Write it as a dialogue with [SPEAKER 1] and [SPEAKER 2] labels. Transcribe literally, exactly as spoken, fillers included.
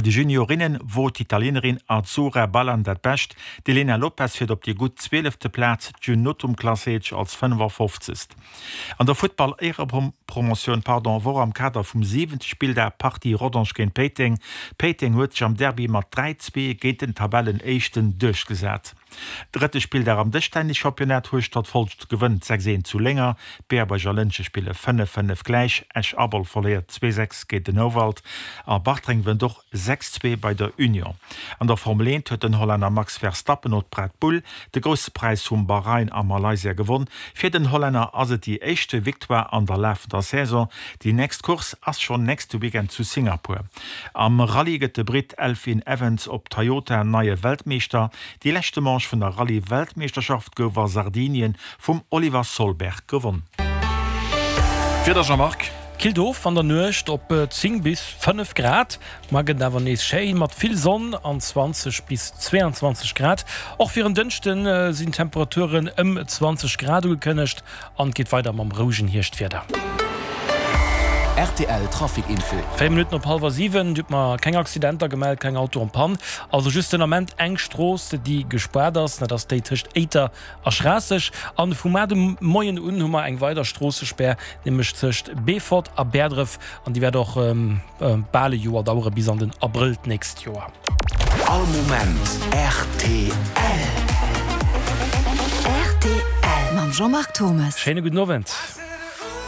[SPEAKER 1] De Juniorinnen wor d'Italienerin Azzurra Ballan dat Bescht, d'Elena Lopes fiert op déi gutt zwielefte Plaz, d'June Nothum klasséiert sech als fënnefafofzegst. An der Futtball-Éierepromotioun pardon wor am Kader vum siwente Spilldag d'Partie Rodange géint Péiteng. Péiteng huet sech am Derby mat dräi, zwee géint den Tabellenéischten duerchgesat. Drëtte Spilldag am Dëschtennis-Championnat, Hueschtert-Folscht gewënnt sechs eent zu Lénger, Berbuerg a Lëntge spille fënnef fënnef gläich, Esch-Abol verléiert zwee sechs géint den Houwald a Bartreng wënnt och sechs zwee bei der Union. An der Formel eent huet den Hollänner Max Verstappen op Red Bull de Grousse Präis vum Bahrain a Malaysia gewonn. Fir den Hollänner ass et déi éischte Victoire an der lafender Saison. Déi nächst Course ass schonn nächste Weekend zu Singapur. Am Rallye gëtt de Britt Elfyn Evans op Toyota neie Weltmeeschter. Déi leschte Manche vun der Rallye-Weltmeeschterschaft gouf a Sardinien vum Oliver Solberg gewonn.
[SPEAKER 2] Wieder Jean-Marc.
[SPEAKER 3] Killt of an der Nuecht op zéng bis fënnef Grad, mar gëtt awer nees schéi mat vill Sonn an zwanzeg bis zweeanzwanzeg Grad. Och fir en Dënschde sinn Temperaturen ëm zwanzeg Grad ugekënnegt an et geet weider mam rouegen Hierschtwieder.
[SPEAKER 4] Rtl Trafic Info.
[SPEAKER 3] Véier Minutten op hallwer siwen. Dir hutt mer keng Accidenter gemellt, keng Auto en panne. Also just den Ament eng Strooss, déi gespaart ass, dat ass déi tëscht Éiter a Schraasseg. An vu mar de Moien un hu mer eng weider Stroossespär, nämlech tëscht Beefort a Bäerdref. An déi wäert och bal e Joer daueren, bis an den Abrëll d'nächst Joer.
[SPEAKER 4] All Moment rtl.
[SPEAKER 5] Rtl mam Jean-Marc Thommes.
[SPEAKER 3] Schéine gudden Owend.